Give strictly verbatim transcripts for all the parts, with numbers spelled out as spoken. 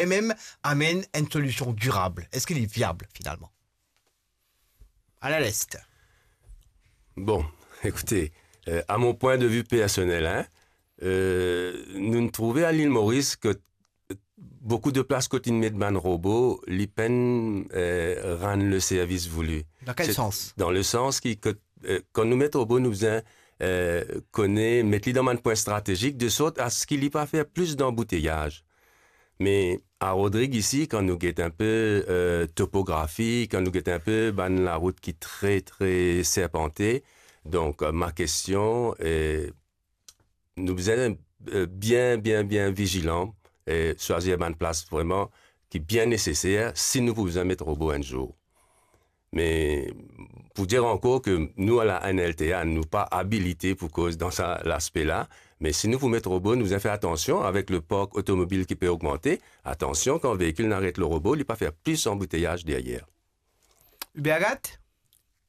e mem amenn enn solision dirab? Eski li viab finalman? Alain Leste. Bon, ekoute, euh, à mon point de vue personnel, hein, euh, nou trouve a Lil Moris ke boukou de plas kot inn met bann robo, li pa'nn, euh, rann le service voulu. Dan kel sans? Dan le sans ki, ke, euh, kan nou met robo, nou bizin, euh, kone, met li dan bann pwin stratezik, de sort a se ki li pa fer plis danbouteyaz. Me a Rodrig isi, kan nou get inpe, euh, topografi, kan nou get inpe bann larout ki tre, tre serpante, donk, euh, ma kestion, euh, nou bizin, euh, bien, bien, bien vizilan e swazir bann plas vreman ki bien neseser si nou pou bizin met robo enn zour. Me pou dir ankor ke nou, a la N L T A, nou pa abilite pou koz dan sa laspe la, me si nou pou met robo, nou bizin fer atansion avek le park otomobil ki pe ogmante. Atansion, kan veikil inn aret lor robo, li pa fer plis anbouteyaz deryer. Hubert Gat?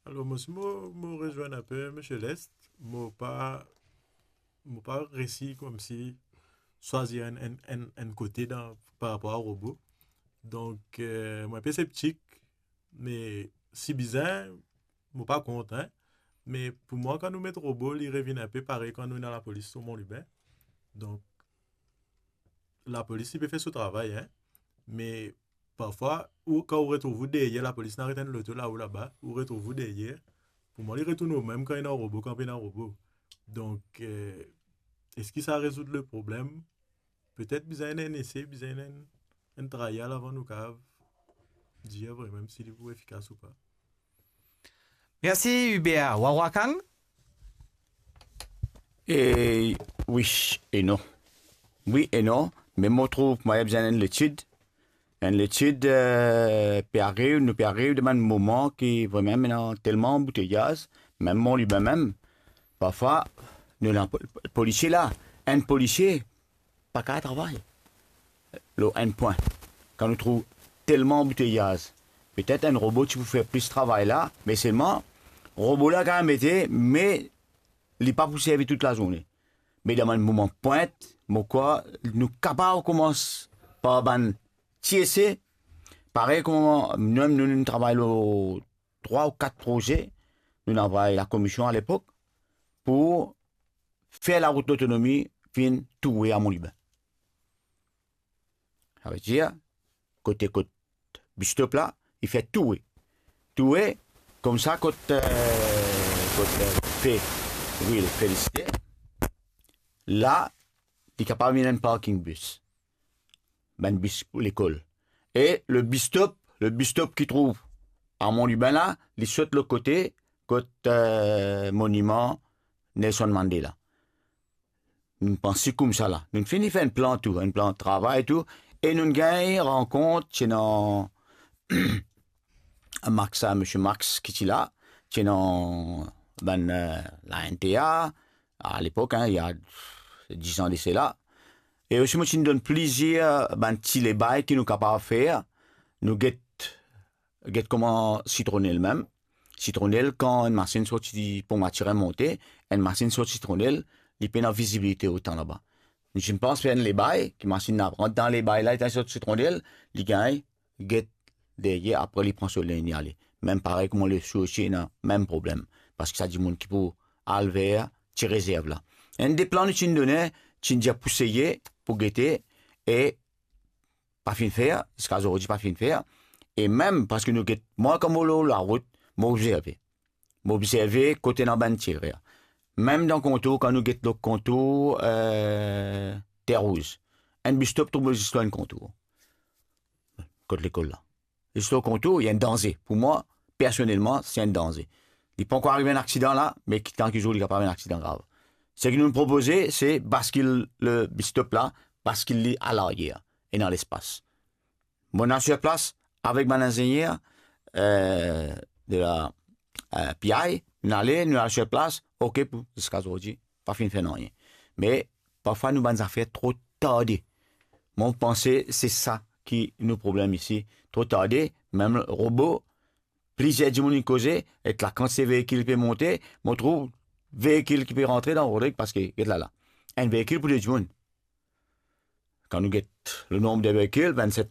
Alor, mo si mo, mo rezwenn inpe Msye Leste, mo pa, mo pa resi koumsi swazir enn, enn, enn, enn kote dan, par rapor a robo. Donk, euh, mo inpe septik, me si bizin, mo pa kont, hein. Me pou mwa, kan nou met robo, li revinn inpe parey kan nou ena lapolis lor Mont Lubin. Donk, lapolis, li pe fer so travay, hein. Me parfwa, ou, kan ou retrouv ou deryer, lapolis inn aret enn loto lao laba, ou retrouv ou deryer. Pou mwa, li retourn omem kan ena robo, kan pena robo. Donk, euh, eski sa rezoud le problem? Petet bizin enn ese, bizin enn, enn trial avan nou kapav dir vremem si li pou efikas ou pa. Mersi Hubert. Wawa Kang? E wi e non. Wi e non, me mo trouv mwa bizin enn letid. Enn letid, euh, pe ariv, nou pe ariv dan bann moman ki vremem ena telman anbouteyaz, mem Mont Lubin mem. Parfwa, nou ena po-, polisie la, enn polisie pa kapav travay lor enn pwin. Kan nou trouv telman anbouteyaz, petet enn robo ti pou fer plis travay la, me selman, robo la kapav mete, me li pa pou servi tout lazourne. Me dan bann moman pwint, mo krwar nou kapav koumans par bann ti ese, parey kouma nou, nou, nou travay lor trwa ou kat proze, nou inn avoy lakomision alepok, pou fer larout Lotonomi vinn toue a Mont Lubin. Savedir, kote kot bistop la, li fer toue. Toue, koumsa kot, euh, kot, euh, pe, wi, Felisite. La, li kapav vinn enn parking bis. Bann bis pou lekol. E le bistop, le bistop ki trouv a Mont Lubin la, li sot lot kote kot, euh, moniman Nelson Mandela. Nou panse koumsa la. Nou fini fer enn plan tou, enn plan travay tou, e nou gagn rankont, ti ena Max, sa, Msye Max ki ti la, ti ena bann, euh, la N T A, a lepok, hein, il y a dix ans de cela. E osi, mo ti donn plizier bann ti lebay ki nou kapav fer. Nou get, get kouma Sitronel mem. Sitronel, kan enn masinn sorti Pont Mathurin monte, enn masinn sorti Sitronel, li pena vizibilite otan laba. Nou ti pans fer enn lebay, ki masinn la rant dan lebay la, li sorti Sitronel, li gagn get deryer, apre li pran so linn, li ale. Mem parey kouma Lesoursi ena mem problem, parski sa dimoun ki pou al ver ti rezerv la. Enn de plan nou ti done, ti dir pou seye, pou gete, e pa finn fer, ziska zordi pa finn fer. E mem parski nou get, mwa kan mo lor larout, mo obzerve. Mo obzerve kote ena bann ti ere. Mem dan kontour, kan nou get lor kontour, euh, Terre Rouge, enn bistop trouv zis lor enn kontour. Kot lekol la. Zis lor kontour, li enn danze. Pou mwa, personelman, se enn danze. Li pankor ariv enn aksidan la, me ki tan ki zour li kapav enn aksidan grav. Seki nou propoze, se baskil le bistop la, baskil li alaryer, ena lespas. Mo al sir plas avek bann inzegner, euh, de la, euh, P I, nou ale, nou al sir plas, ok, pou ziska zordi, pa finn fer nanye. Me parfwa nou bann zafer tro tarde. Mo panse se sa ki nou problem isi, tro tarde, mem robo, plizier dimoun inn koze, ek lakantite veikil ki pe monte, mo trouv veikil ki pe rantre dan Rodrig, parski, get la la. Enn veikil pou de dimoun. Kan nou get le nombre de véhicules, vingt-sept